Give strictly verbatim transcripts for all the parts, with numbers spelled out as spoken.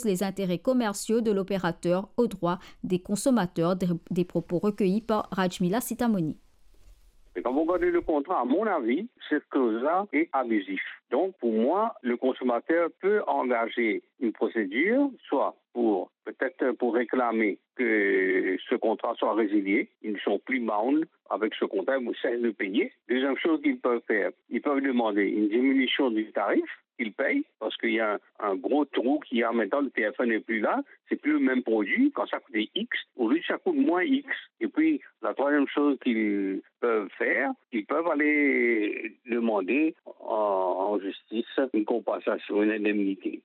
les intérêts commerciaux de l'opérateur aux droits des consommateurs, des, des propos recueillis par Rajmila Sitamoni. Et quand vous regardez le contrat, à mon avis, cette clause-là est abusive. Donc, pour moi, le consommateur peut engager une procédure, soit pour, peut-être pour réclamer que ce contrat soit résilié, ils ne sont plus bound avec ce contrat, ils cessent de payer. Deuxième chose qu'ils peuvent faire, ils peuvent demander une diminution du tarif qu'ils payent, parce qu'il y a un, un gros trou qu'il y a maintenant, le T F un n'est plus là, c'est plus le même produit. Quand ça coûtait X, aujourd'hui ça coûte moins X. Et puis, la troisième chose qu'ils peuvent faire, ils peuvent aller demander en, en justice une compensation, une indemnité.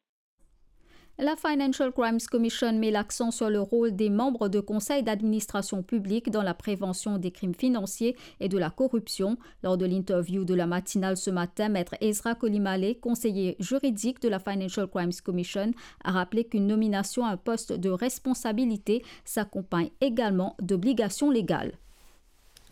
La Financial Crimes Commission met l'accent sur le rôle des membres de conseil d'administration publique dans la prévention des crimes financiers et de la corruption. Lors de l'interview de la matinale ce matin, Maître Ezra Kolimale, conseiller juridique de la Financial Crimes Commission, a rappelé qu'une nomination à un poste de responsabilité s'accompagne également d'obligations légales.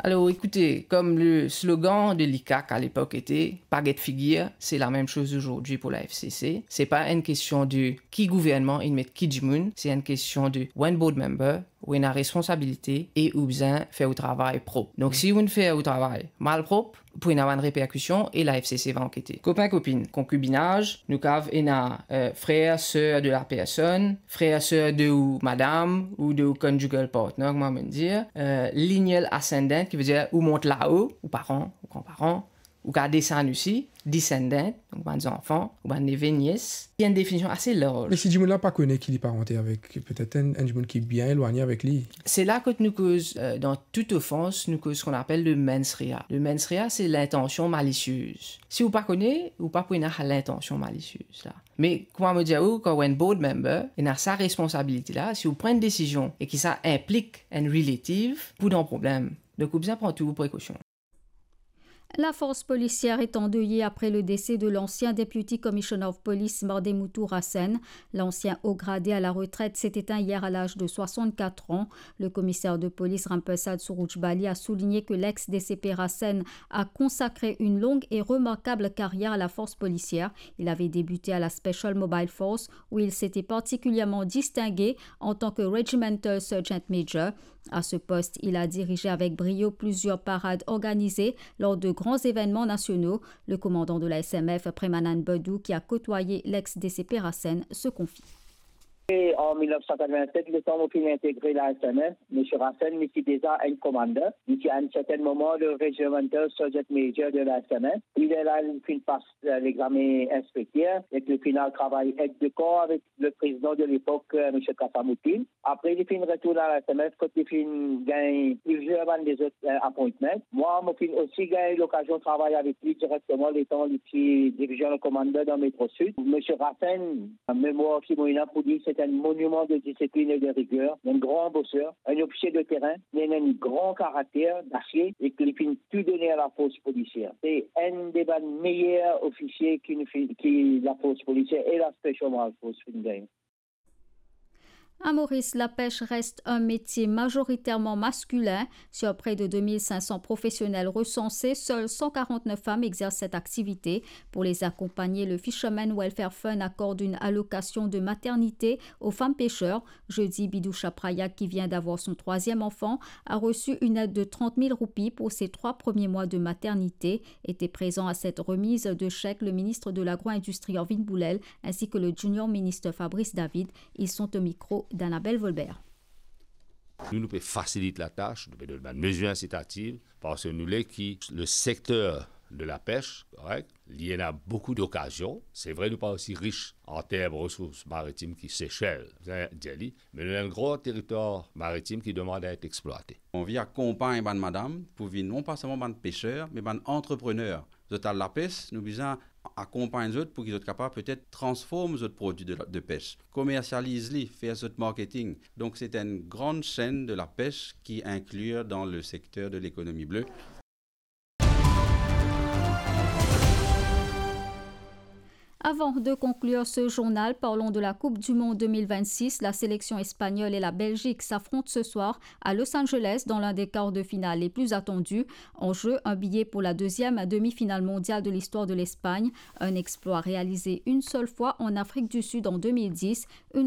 Alors, écoutez, comme le slogan de l'ICAC à l'époque était, "Pa get figir", c'est la même chose aujourd'hui pour la F C C. C'est pas une question de ki gouvernement il met ki dimoun, c'est une question de ou enn board member, ou ena responsabilite e ou bizin fer ou travay prop. Donk, si ou fer ou travay malprop, pou ena bann reperkision e la F C C va ankete. Kopin, kopinn, konkibinaz, nou kav ena, euh, frer, ser de la personn, frer, ser de ou madam, ou de ou conjugal partner, kouma mo dir, euh, lineal ascendant, ki vedir ou mont lao, ou paran, ou granparan, ou kav desann osi, descendant, donk bann zanfan, ou bann neve, nies. Li enn definision ase larz. Me si dimoun la pa kone ki li parante avek, petet enn, enn dimoun ki bien elwagne avek li. Se la kot nou koz, euh, dan tout ofans, nou koz seki nou apel le mens rea. Le mens rea, se lintansion malisiez. Si ou pa kone, ou pa pou ena lintansion malisiez la. Me, kouma mo dir ou, kan ou enn board member, ena sa responsabilite la, si ou pran enn desizion e ki sa inplik enn relative, pou dan problem. Donk, ou bizin pran tou ou prekosion. La force policière est endeuillée après le décès de l'ancien Deputy Commissioner of Police, Mardemoutou Rassen. L'ancien haut gradé à la retraite s'est éteint hier à l'âge de soixante-quatre ans. Le commissaire de police Rampersad Surujbali a souligné que l'ex D C P Rassen a consacré une longue et remarquable carrière à la force policière. Il avait débuté à la Special Mobile Force, où il s'était particulièrement distingué en tant que Regimental Sergeant Major. À ce poste, il a dirigé avec brio plusieurs parades organisées lors de grands événements nationaux. Le commandant de la S M F, Premanand Badou, qui a côtoyé l'ex D C P Rassen, se confie. E an mil nef san katrovin-set, letan mo finn integre la S M F, Misie Rassen, li ti deza enn commander. Li ti, à un certain moment, le Regimental Sergeant Major de la S M F. Li, lerla, li finn pas, euh, l'examen inspekter, e li finn al travay aide de camp avek le président de l'époque, euh, Misie Kassamoutine. Apre, li finn retourn a la S M F, kot li finn gagn plizier bann lezot, euh, appointment. Mwa, mo finn osi gagn lokazion travay avek li direkteman letan li ti division commander dan Metro Sud. Misie Rassen, memwar ki mo ena pou li, se enn moniman de disiplin e de riger, enn gran boser, enn ofisie de terin, li ena enn gran karakter dasie e ki li finn tou done a la force policière. Se enn de bann meyer ofisie ki nou fi-, ki la force policière e la Special Mobile Force finn gagn. À Maurice, la pêche reste un métier majoritairement masculin. Sur près de deux mille cinq cents professionnels recensés, seules cent quarante-neuf femmes exercent cette activité. Pour les accompagner, le Fishermen Welfare Fund accorde une allocation de maternité aux femmes pêcheurs. Jeudi, Bidou Chaprayak, qui vient d'avoir son troisième enfant, a reçu une aide de trente mille roupies pour ses trois premiers mois de maternité. Étaient présents à cette remise de chèque le ministre de l'Agro-industrie, Orvin Boulel, ainsi que le Junior Minister Fabrice David. Ils sont au micro d'Annabelle Volbert. Nou, nou pe fasilit latas, nou pe donn bann mezir insitativ, parski nou le ki le sekter de la pêche, korek, li ena boukou dokazion. Se vre, nou pa osi rich an term resours maritim ki Sesel, bizin dir li, me nou ena enn gran teritwar maritim ki demann a et eksplwate. Anvi akonpagn bann madam pou vinn non pa selman bann peser, me bann antreprener. Zot al lapes, nou bizin akonpagn zot pou ki zot kapav petet transform zot prodwi de la, de pes, komersializ li, fer zot marketing. Donk, se enn gran senn de la pes ki inkli dan le sekter de lekonomi ble. Avant de conclure ce journal, parlons de la Coupe du Monde deux mille vingt-six. La sélection espagnole et la Belgique s'affrontent ce soir à Los Angeles dans l'un des quarts de finale les plus attendus. En jeu, un billet pour la deuxième demi-finale mondiale de l'histoire de l'Espagne. Un exploit réalisé une seule fois en Afrique du Sud en deux mille dix. Une